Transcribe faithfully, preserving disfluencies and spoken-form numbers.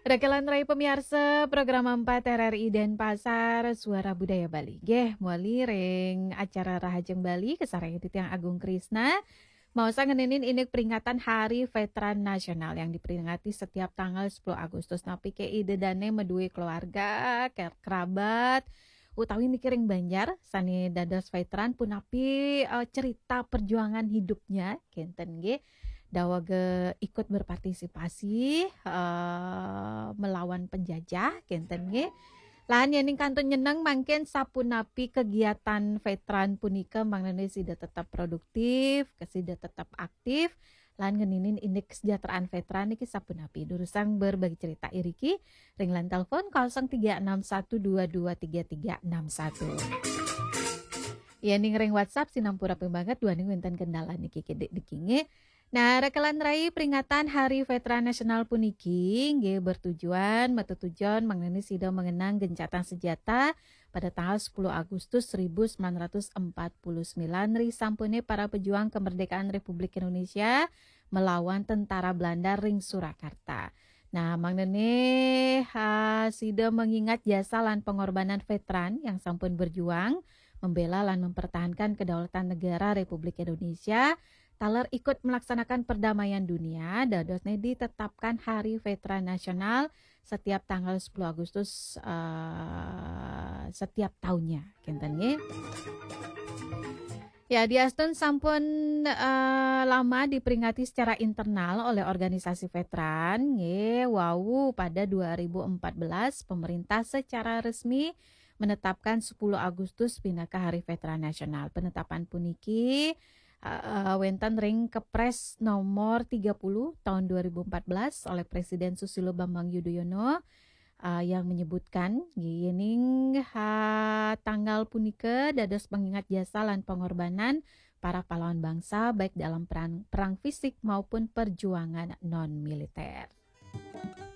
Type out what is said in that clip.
Rekelan rai pemiarsa program empat R R I Denpasar, Suara Budaya Bali. Nggih, mawali ring acara Rahajeng Bali, kasarengin titiang Agung Krisna. Maosang ngeninin indik peringatan Hari Veteran Nasional yang diperingati setiap tanggal sepuluh Agustus. Napi ké Ida dané madué keluarga, ke-, kerabat, utawi niki ring Banjar, sané dados veteran, punapi, eh, cerita perjuangan hidupnya, kénten nggih. Dawa ga ikut berpartisipasi, eh, melawan penjajah, kénten nggih. Lan yéning kantun nyeneng mangkin sapunapi kegiatan veteran punika, mangdané sida tetap produktif, sida tetap aktif, lan ngeninin indik kesejahteraan veteran niki sapunapi. Durusang berbagi cerita iriki ring line telepon kosong tiga enam satu dua dua tiga tiga enam satu. Yéning ring WhatsApp sinampura pimanget duaning wénten kendala niki kidik niki nggih. Nah, rekelan rai peringatan Hari Veteran Nasional puniki nggih bertujuan, matetujon mangdané sida mengenang gencatan senjata pada tanggal sepuluh Agustus seribu sembilan ratus empat puluh sembilan ri sampuné para pejuang kemerdekaan Republik Indonesia melawan tentara Belanda ring Surakarta. Nah, mangdané, ha, sida mengingat jasa lan pengorbanan veteran yang sampun berjuang, membela lan mempertahankan kedaulatan negara Republik Indonesia, taler ikut melaksanakan perdamaian dunia, dadosné ditetapkan Hari Veteran Nasional setiap tanggal sepuluh Agustus, eh, setiap tahunnya, kénten nggih. Ya, diastun sampun, eh, lama diperingati secara internal oleh organisasi veteran, nggih, wau pada dua ribu empat belas pemerintah secara resmi menetapkan sepuluh Agustus pinaka Hari Veteran Nasional. Penetapan puniki, eh, wénten ring Kepres nomor tiga puluh tahun dua ribu empat belas oleh Presiden Susilo Bambang Yudhoyono, eh, yang menyebutkan, nggih, yéning, ha, tanggal punika dados pengingat jasa lan pengorbanan para pahlawan bangsa, baik dalam perang, perang fisik maupun perjuangan non militer.